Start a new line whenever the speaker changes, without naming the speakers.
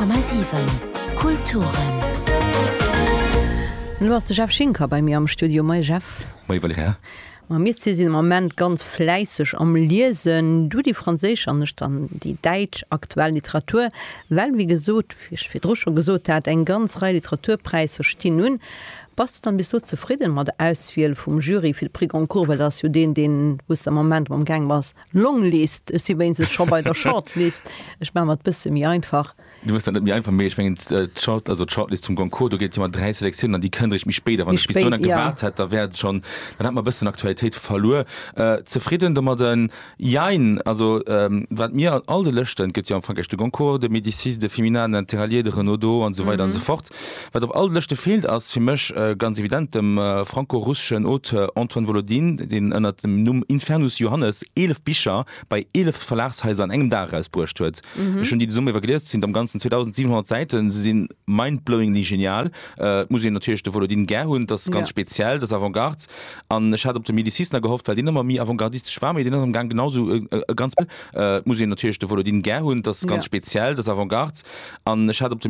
100,7 Kulturen.
Elo ass de Jeff Schinker bei mir am Studio. Moie Jeff.
Moie Valerija.
Ma mir zwee sinn am Ament ganz fläisseg am Liesen, du déi franséisch an ech dann déi däitsch aktuell Literatur, well wéi gesot, wéi ech virdru scho gesot hat, eng ganz Rei Literaturpräisser stinn un. Bass du dann bis elo zefridden mat der Auswiel vum Jury fir de Prix Goncourt, well dat ass jo deen, deen, wou s de am Moment am gaang bass, Longlist, ech si wéinstens scho bei der Shortlist, ech maache mer et bësse méi einfach.
Du hues dat net méi einfach, mee ech mengen d'Short, also d'Shortlist zum Goncourt, do gëtt et jo ëmmer 3 Selektiounen an déi kënnt eréischt méi spéit. A wann ech bis dohinner gewaart hätt, da wär et schonn, dann hätt mer e bëssen Aktualitéit verluer. Zefridden domadden? Jein. Also wat mir an all de Lëschten, et gëtt jo am Frankräich de Goncourt, de Médicis, de Femina, den Interallié, de Renaudot an esou weider an esou fort, wat op all de Lëschte feelt, ass fir mech ganz evident dem franco-russeschen Auteur Antoine Volodine, deen ënnert dem Numm Infernus Johannes 11 Bicher bei 11 Verlagshaiser an engem Dag erausbruecht huet. Ech hunn déi de Summer iwwer gelies, et sinn am Ganzen 2.700 Säiten, se si mindblowingly genial. Et muss een natierlech de Volodine gär hunn, et ass ganz speziell, et ass Avantgarde. An ech hat op de Médicis nach gehofft, well deen ëmmer méi avantgardistesch war, mee deen ass am Gaang genau esou e ganz. Et muss een natierlech de Volodine gär hunn, et ass ganz speziell, et ass Avantgarde. An ech hat op de.